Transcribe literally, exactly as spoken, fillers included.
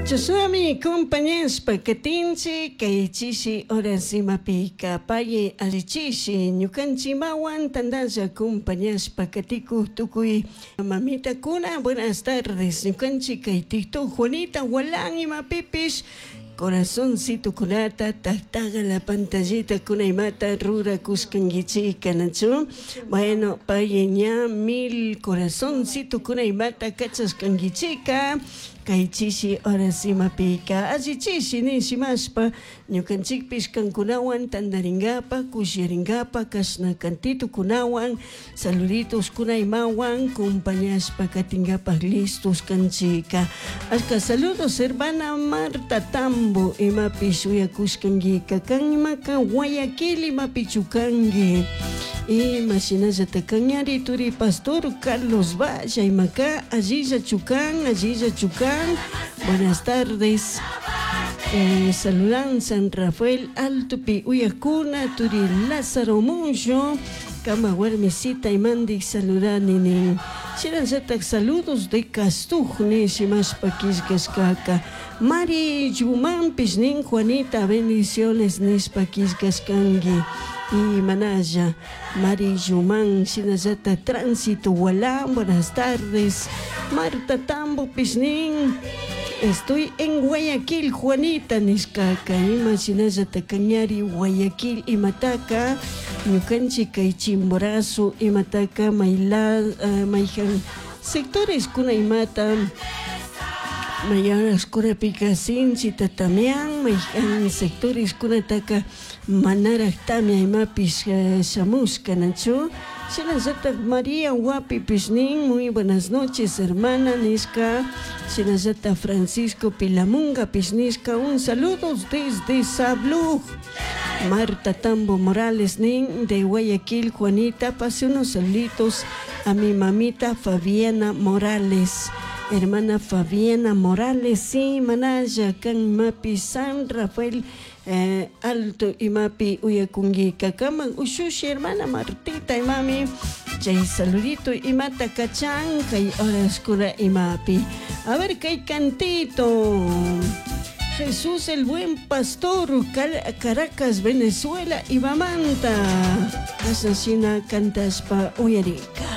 Chashnami compañashpa katinchik kay chishi horas imapika paye allichishi ñukanchimawan tantalla compañashpa katikuk tukuy mamitakuna. Buenas tardes, ñukanchik kay TikTok Juanita Gualán imapipish corazoncito kunata taktaga la pantallita kuna imata rurakushkankichik nachu. Bueno, paye ña mil corazoncito kuna imata kachashkankichika kay chishi horas imapika allichishi nishimashpa ñukanchikpish kankunawan tantaringapa kushiyaringapa kashna cantitukunawan saluditos kuna imawan compañashpa katinkapak listos kanchika. Ashka saludos, hermana Marta Tambo imapish uyakushkankika kan imaka Guayaquil imapichu kanki ima shinallata kañari turi pastor Carlos Valla imaka allilla chukan allilla chukan. Buenas tardes. Eh, saludan San Rafael Altopi uyakuna turi Lázaro Muncho kama warmisita imandik saludani nin. Shinallatak saludos de Castuj nishimashpa killkashkaka Mari Yumanpish nin Juanita bendiciones nishpa killkashkanki y manalla Mari Yuman shinallata Tránsito Gualán buenas tardes. Marta Tambo nin estoy en Guayaquil Juanita nishkaka ima shinallata kañari Guayaquil imataka ñukanchik kay Chimborazo imataka mayla uh, mayjan sectores kuna imata mayaras kunapika sinchita tamian mayjan sectores kunataka manaraj tamia imapish uh, shamushka nachu. Shinallatak María Wapipish nin muy buenas noches hermana nishka. Shinallata Francisco Pilamunga pish nishka un saludo desde Sabluj. Marta Tambo Morales nin de Guayaquil Juanita pase unos saluditos a mi mamita Fabiana Morales. Hermana Fabiana Morales, sí, manaya, kan mapi San Rafael eh, Alto imapi uyakungi kaman ushushi hermana Martita imami chay saludito imata kachan kay horas imapi. A ver kay cantito. Jesús el buen pastor, Caracas, Venezuela, Ibamanta. Asesina cantaspa uyarika.